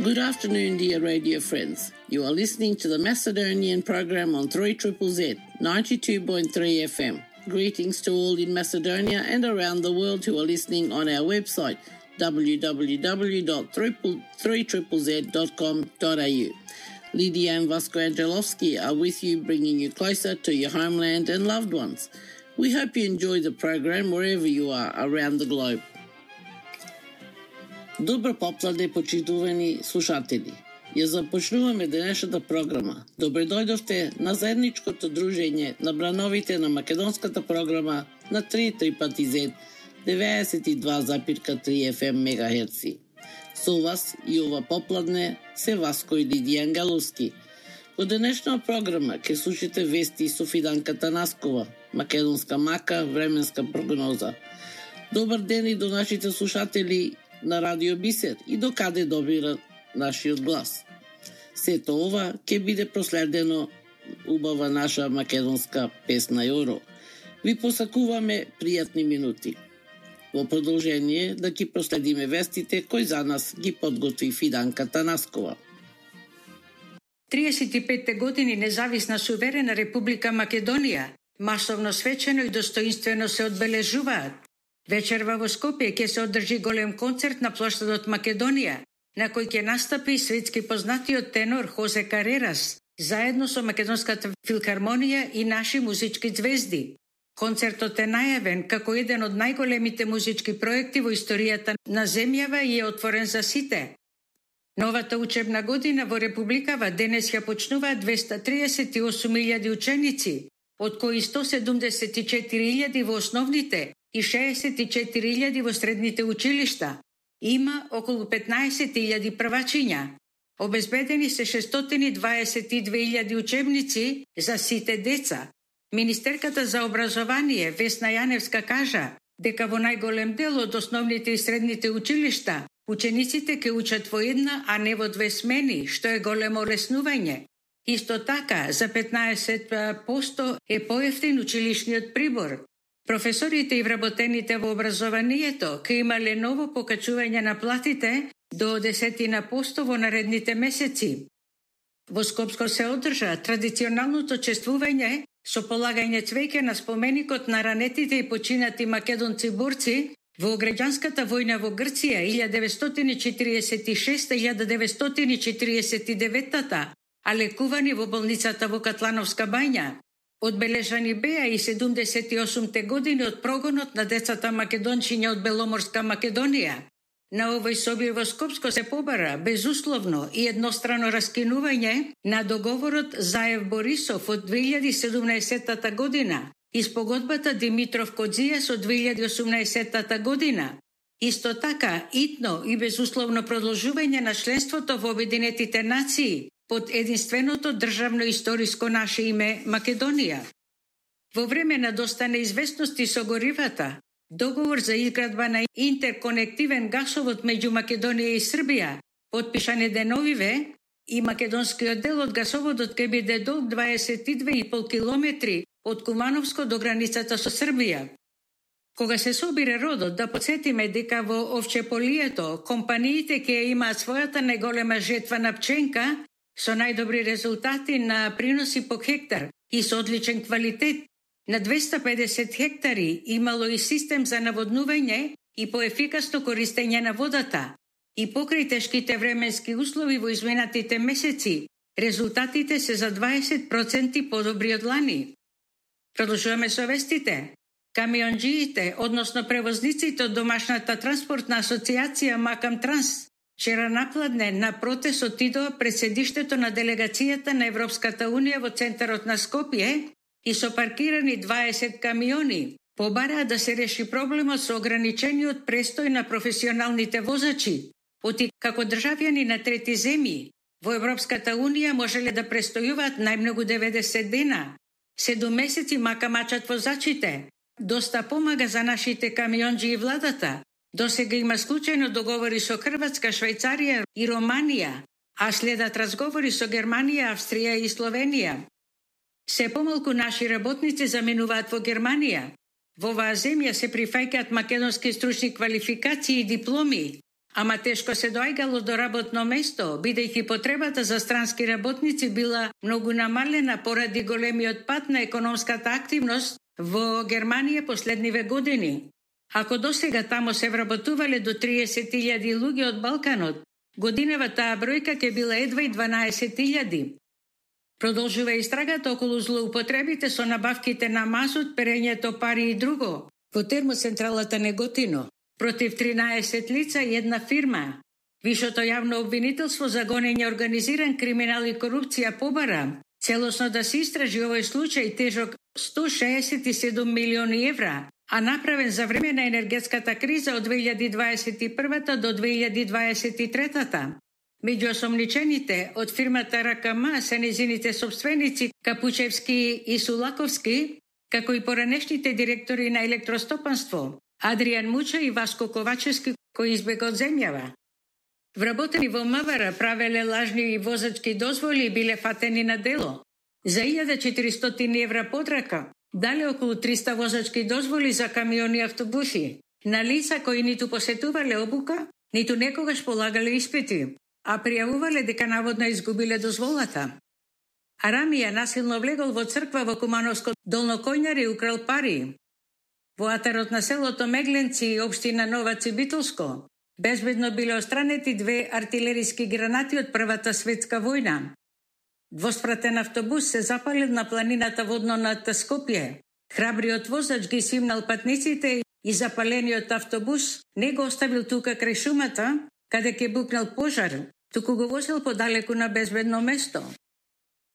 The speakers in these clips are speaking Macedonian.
Good afternoon, dear radio friends. You are listening to the Macedonian program on 3ZZZ 92.3 FM. Greetings to all in Macedonia and around the world who are listening on our website www.3ZZZ.com.au. Lydia and Vasco Angelovski are with you, bringing you closer to your homeland and loved ones. We hope you enjoy the program wherever you are around the globe. Добро попладне, почитувани слушатели. Ја започнуваме денешната програма. Добре дојдовте на заедничкото дружење на брановите на македонската програма на 3ZZZ 92,3 FM мегахерци. Со вас и ова попладне се Васко и Лидија Ангеловски. Во денешна програма ќе слушате вести со Фиданка Танаскова, македонска мака, временска прогноза. Добар ден и до нашите слушатели на Радио Бисер и до каде добира нашиот глас. Сето ова ќе биде проследено убава наша македонска песна Јоро. Ви посакуваме пријатни минути. Во продолжение да ги проследиме вестите кои за нас ги подготви Фиданка Танаскова. 35 години независна суверена Република Македонија масовно, свечено и достоинствено се одбележуваат. Вечерва во Скопје ќе се одржи голем концерт на плоштадот Македонија, на кој ќе настапи светски познатиот тенор Хозе Карерас, заедно со Македонската филхармонија и наши музички звезди. Концертот е најавен како еден од најголемите музички проекти во историјата на земјава и е отворен за сите. Новата учебна година во Републикава денес ја почнуваат 238.000 ученици, од кои 174.000 во основните и 64.000 во средните училишта. Има околу 15.000 првачиња. Обезбедени се 622.000 учебници за сите деца. Министерката за образование Весна Јаневска кажа дека во најголем дел од основните и средните училишта учениците ќе учат во една, а не во две смени, што е големо олеснување. Исто така, за 15% е поевтин училишниот прибор. Професорите и вработените во образованието ќе имале ново покачување на платите до 10% во наредните месеци. Во Скопско се одржа традиционалното чествување со полагање цвеќе на споменикот на ранетите и починати македонци борци во граѓанската војна во Грција 1946-1949, а лекувани во болницата во Катлановска бања. Одбележани беа и 78-те години од прогонот на децата македончиња од Беломорска Македонија. На овој соби во Скопско се побара безусловно и еднострано раскинување на договорот Заев-Борисов од 2017 година и спогодбата Димитров-Кодзијас од 2018 година. Исто така, итно и безусловно продолжување на членството во Обединетите нации под единственото државно историско наше име Македонија. Во време на доста неизвестности со горивата, договор за изградба на интерконективен гасовод меѓу Македонија и Србија, потпишан е деновиве, и македонскиот дел од гасоводот ќе биде долг 22,5 километри од Кумановско до границата со Србија. Кога се собира родот, да подсетиме дека во овчеполието компаниите ќе имаат својата најголема жетва на пченка со најдобри резултати на приноси по хектар и со одличен квалитет. На 250 хектари имало и систем за наводнување и поефикасно користење на водата. И покрај тешките временски услови во изминатите месеци, резултатите се за 20% подобри од лани. Продолжуваме со вестите. Камионџиите, односно превозниците од домашната транспортна асоциација Макам Транс, вчера напладне на протест отидоа пред седиштето на делегацијата на Европската Унија во центарот на Скопје и со паркирани 20 камиони побараа да се реши проблемот со ограничениот престој на професионалните возачи. Оти како државјани на трети земји во Европската Унија можеле да престојуваат најмногу 90 дена. 7 месеци макамачат возачите. Доста помага за нашите камионџи и владата. Досега има склучено договори со Хрватска, Швајцарија и Романија, а следат разговори со Германија, Австрија и Словенија. Се помалку наши работници заменуваат во Германија. Во оваа земја се прифаќаат македонски стручни квалификации и дипломи, ама тешко се доаѓало до работно место, бидејќи потребата за странски работници била многу намалена поради големиот пат на економската активност во Германија последниве години. Ако досега тамо се вработувале до 30.000 луѓе од Балканот, годинава таа бројка ќе била едва и 12.000. Продолжува истрагата околу злоупотребите со набавките на мазут, перењето пари и друго во термоцентралата Неготино против 13 лица и една фирма. Вишото јавно обвинителство за гонење организиран криминал и корупција побара целосно да се истражи овој случај тежок 167 милиони евра, а направен за време на енергетската криза од 2021 до 2023. Меѓу осомничените од фирмата РКМ се незините собственици Капучевски и Сулаковски, како и поранешните директори на електростопанство Адријан Муча и Васко Ковачевски, кои избега од земјава. Вработени во МВР правеле лажни возачки дозволи и биле фатени на дело. За 1400 евра подрака дале околу 300 возачки дозволи за камиони и автобуси на лица кои ниту посетувале обука, ниту некогаш полагале испити, а пријавувале дека наводно изгубиле дозволата. Арамија насилно влегол во црква во Кумановско Долно Којнари и украл пари. Во атарот на селото Мегленци, општина Нова Цибитолско, безбедно биле остранети 2 артилериски гранати од Првата светска војна. Двоспратен автобус се запалил на планината водно над Скопје. Храбриот возач ги симнал патниците и запалениот автобус не го оставил тука крај шумата, каде ќе букнал пожар, туку го возил подалеку на безбедно место.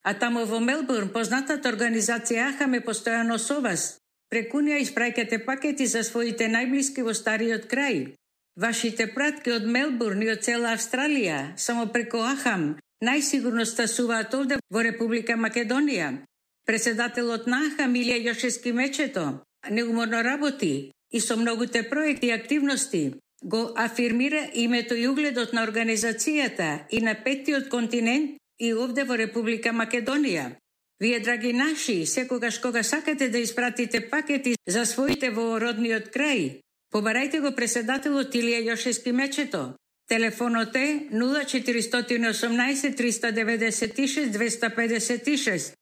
А тамо во Мелбурн познатата организација АХАМ постојано со вас. Преку неа испраќате пакети за своите најблиски во стариот крај. Вашите пратки од Мелбурн и од цела Австралија, само преку АХАМ, најсигурно стасуваат овде во Република Македонија. Председателот на АХАМ Илија Јошевски Мечето неуморно работи и со многуте проекти и активности го афирмира името и угледот на организацијата и на петтиот континент и овде во Република Македонија. Вие, драги наши, секогаш кога сакате да испратите пакети за своите во родниот крај, побарајте го председателот Илија Јошевски Мечето. Телефонот е 0418 396 256.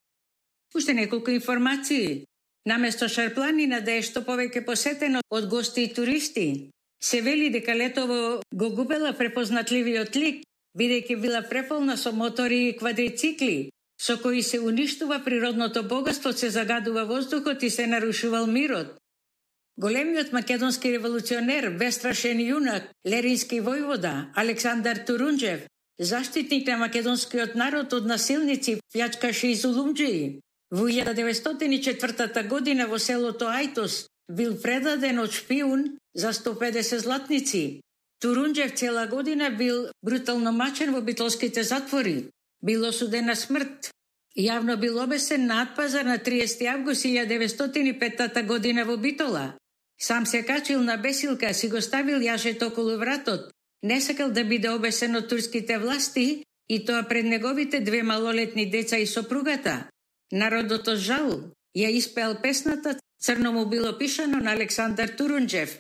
Уште неколку информации. Наместо Шарпланина да е што повеќе посетено од гости и туристи, се вели дека летово го губела препознатливиот лик, бидејќи била преполна со мотори и квадрицикли, со кои се уништува природното богатство, се загадува воздухот и се нарушувал мирот. Големиот македонски револуционер, бестрашен јунак, лерински војвода Александар Турунџев, заштитник на македонскиот народ од насилници, плjačкаши и зулумџии, во 1904 година во селото Ајтос бил предаден од шпиун за 150 златници. Турунџев цела година бил брутално мачен во битолските затвори. Бил осуден на смрт. Јавно бил обесен на Атпазар на 30 август 1905 година во Битола. Сам се качил на бесилка, си го ставил јажето околу вратот. Не сакал да биде обесен од турските власти и тоа пред неговите 2 малолетни деца и сопругата. Народот од жал ја испеал песната "Црно му било пишано" на Александар Турунџев.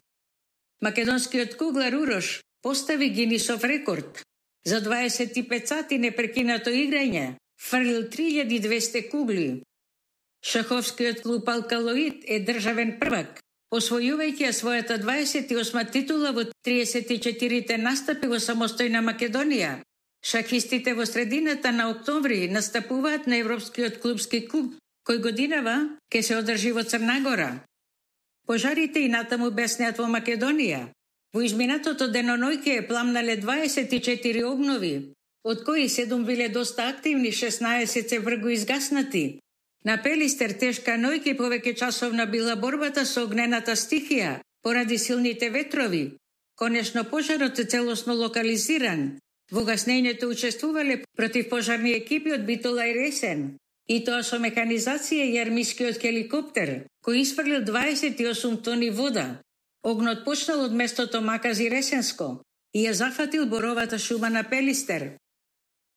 Македонскиот куглар Урош постави Гинисов рекорд. За 25 сати непрекинато играње фрлил 3200 кугли. Шаховскиот клуб Алкалоид е државен првак, освојувајќи својата 28 титула во 34 настапи во самостојна Македонија. Шахистите во средината на октомври настапуваат на Европскиот клубски куп, кој годинава ќе се одржи во Црна Гора. Пожарите и натаму беснеат во Македонија. Во изминатото денонојке пламнале 24 огнови, од кои 7 биле доста активни, 16 се вргу изгаснати. На Пелистер тешка нојке повеќе часовна била борбата со огнената стихија поради силните ветрови. Конечно пожарот е целосно локализиран. Во гаснењето учествувале противпожарни екипи од Битола и Ресен, и тоа со механизација и армискиот хеликоптер, кој исфрлил 28 тони вода. Огнот почнал од местото Макази Ресенско и ја зафатил боровата шума на Пелистер.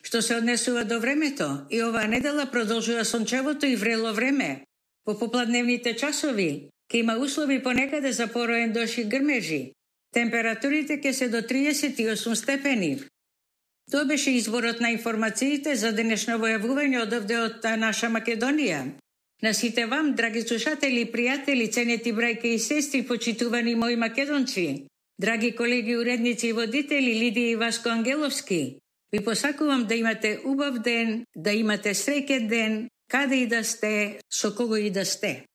Што се однесува до времето, и оваа недела продолжува сончевото и врело време. Во попладневните часови ќе има услови понекаде за пороен дожд и грмежи. Температурите ќе се до 38 степени. Тоа беше изборот на информациите за денешно војавување од овде од наша Македонија. На сите вам, драги слушатели и пријатели, ценети брајки и сестри, почитувани мои македонци, драги колеги, уредници и водители Лидија и Васко Ангеловски, ви посакувам да имате убав ден, да имате среќен ден, каде и да сте, со кого и да сте.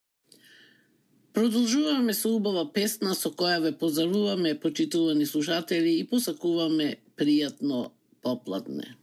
Продолжуваме со убава песна со која ве поздравуваме, почитувани слушатели, и посакуваме пријатно попладне.